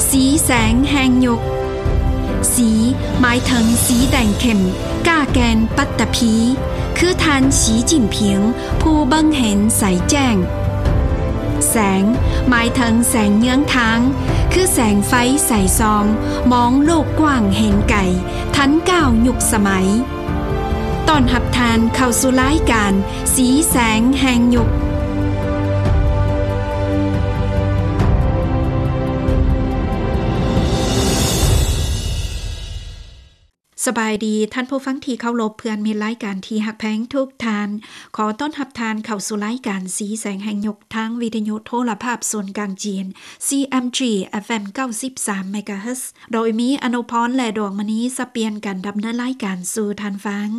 ສີແສງແຫ່ງຍຸກ. ສີ ໝາຍເຖິງສີແດງເຂັ້ມ, ກ້າແກ່ນ, ປັດຕະພີ, ຄືທ່ານ ສີຈິ້ນຜິງ ຜູ້ເບິ່ງເຫັນໃສແຈ້ງ. ແສງ ໝາຍເຖິງແສງເຍືອງທາງ, ຄືແສງໄຟສາຍສ່ອງ, ມອງໂລກກວ້າງເຫັນໄກ, ທັນກ້າວຍຸກສະໄໝ. ຕ້ອນຮັບທ່ານເຂົ້າສູ່ລາຍການ ສີແສງແຫ່ງຍຸກ. ສະບາຍດີທ່ານຜູ້ຟັງທີ່ເຄົາລົບ, ເພື່ອນມິດລາຍການທີ່ຮັກແພງທຸກທ່ານ. ຂໍຕ້ອນຮັບທ່ານເຂົ້າສູ່ລາຍການສີແສງແຫ່ງຍຸກ ທາງວິທະຍຸໂທລະພາບສູນກາງຈີນ ຊີເອັມຈີ ເອັຟເອັມ ເກົ້າສິບສາມ ເມກາເຮີດ, ໂດຍມີອະນຸພອນ ແລະ ດວງມະນີ ສະປ່ຽນກັນດຳເນີນລາຍການສູ່ທ່ານຟັງ.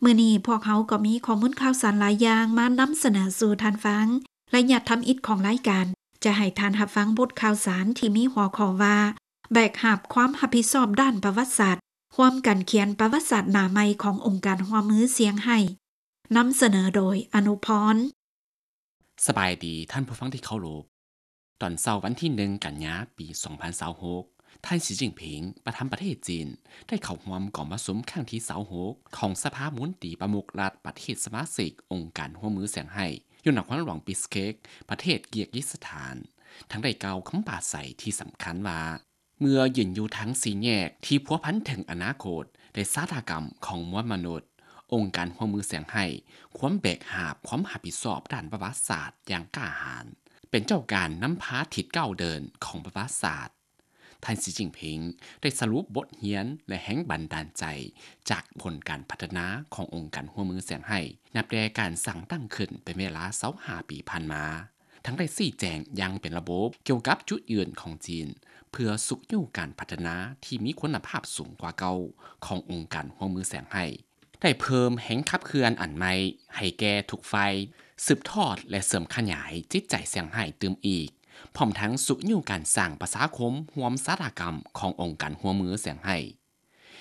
ມື້ນີ້ພວກເຮົາກໍມີຂໍ້ມູນຂ່າວສານຫຼາຍຢ່າງມານຳສະເໜີສູ່ທ່ານຟັງ. ໄລຍະທຳອິດຂອງລາຍການ ຈະໃຫ້ທ່ານຮັບຟັງບົດຂ່າວສານທີ່ມີຫົວຂໍ້ວ່າ ແບກຫາບຄວາມຮັບຜິດຊອບດ້ານປະຫວັດສາດ, ຮ່ວມກັນຂຽນປະຫວັດສາດໜ້າໃໝ່ຂອງອົງການຮ່ວມມືຊຽງໄຮ້. ນຳສະເໜີໂດຍ ອະນຸພອນ. ສະບາຍດີທ່ານຜູ້ຟັງທີ່ເຄົາລົບ. ຕອນເຊົ້າວັນທີໜຶ່ງ ກັນຍາ ປີສອງພັນຊາວຫົກ ທ່ານ ສີຈິ້ນຜິງ ປະທານປະເທດຈີນ ໄດ້ເຂົ້າຮ່ວມກອງປະຊຸມຄັ້ງທີຊາວຫົກ ຂອງສະພາມົນຕີປະມຸກລັດປະເທດສະມາຊິກອົງການຮ່ວມມືຊຽງໄຮ້ ຢູ່ນະຄອນຫຼວງບິສເຄກ ປະເທດກີກີສະຖານ, ທັງໄດ້ກ່າວຄຳປາໄສທີ່ສຳຄັນວ່າ ເມື່ອຢືນຢູ່ທາງສີ່ແຍກທີ່ພົວພັນເຖິງອະນາຄົດ ແລະ ຊະຕາກຳຂອງມວນມະນຸດ, ອົງການຮ່ວມມືຊຽງໄຮ້ຄວນແບກຫາບຄວາມຮັບຜິດຊອບດ້ານປະຫວັດສາດຢ່າງກ້າຫານ, ເປັນເຈົ້າການນຳພາທິດກ້າວເດີນຂອງປະຫວັດສາດ. ທ່ານ ສີຈິ້ນຜິງ ໄດ້ສະຫຼຸບບົດຮຽນ ແລະ ແຮງບັນດານໃຈຈາກຜົນການພັດທະນາຂອງອົງການຮ່ວມມືຊຽງໄຮ້ ນັບແຕ່ການສ້າງຕັ້ງຂຶ້ນເປັນເວລາຊາວຫ້າປີຜ່ານມາ. ທັງໄດ້ຊີ້ແຈງຢ່າງເປັນລະບົບກ່ຽວກັບຈຸດຢືນຂອງຈີນ ເພື່ອຊຸກຍູ້ການພັດທະນາທີ່ມີຄຸນນະພາບສູງກວ່າເກົ່າຂອງອົງການຮ່ວມມືຊຽງໄຮ້, ໄດ້ເພີ່ມແຮງຂັບເຄື່ອນອັນໃໝ່ໃຫ້ແກ່ທຸກຝ່າຍ, ສືບທອດ ແລະ ເສີມຂະຫຍາຍຈິດໃຈຊຽງໄຮ້ຕື່ມອີກ, ພ້ອມທັງຊຸກຍູ້ການສ້າງປະຊາຄົມຮ່ວມຊະຕາກຳຂອງອົງການຮ່ວມມືຊຽງໄຮ້.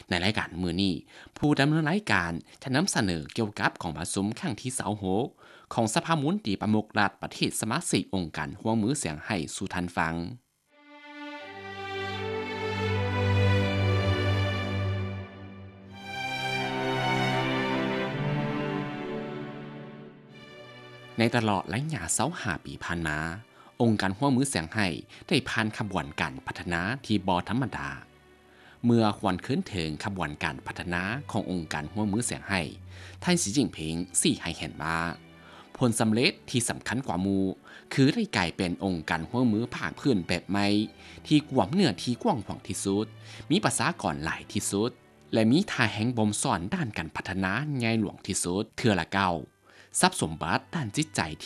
ໃນລາຍການມື້ນີ້, ຜູ້ດຳເນີນລາຍການຈະນຳສະເໜີກ່ຽວກັບກອງປະຊຸມຄັ້ງທີຊາວຫົກ ຂອງສະພາມົນຕີປະມຸກລັດປະເທດສະມາຊິກອົງການຮ່ວມມືຊຽງໄຮ້ສູ່ທ່ານຟັງ. ໃນຕະຫຼອດໄລຍະຊາວຫ້າປີຜ່ານມາ, ອົງການຮ່ວມມືຊຽງໄຮ້ໄດ້ຜ່ານຂະບວນການພັດທະນາທີ່ບໍ່ທຳມະດາ. ເມື່ອຫວນຄືນເຖິງຂະບວນການພັດທະນາຂອງອົງການຮ່ວມມືຊຽງໄຮ້, ທ່ານ ສີຈິ້ນຜິງ ຊີ້ໃຫ້ເຫັນວ່າ ຜົນສຳເລັດທີ່ສຳຄັນກວ່າໝູ່ ຄືໄດ້ກາຍເປັນອົງການຮ່ວມມືພາກພື້ນແບບໃໝ່ ທີ່ກວມເນື້ອທີ່ກວ້າງຂວາງທີ່ສຸດ, ມີປະຊາກອນຫຼາຍທີ່ສຸດ ແລະ ມີທ່າແຮງບົ່ມຊ້ອນດ້ານການພັດທະນາໃຫຍ່ຫຼວງທີ່ສຸດເທື່ອລະກ້າວ. ຊັບສົມບັດດ້ານຈິດໃຈ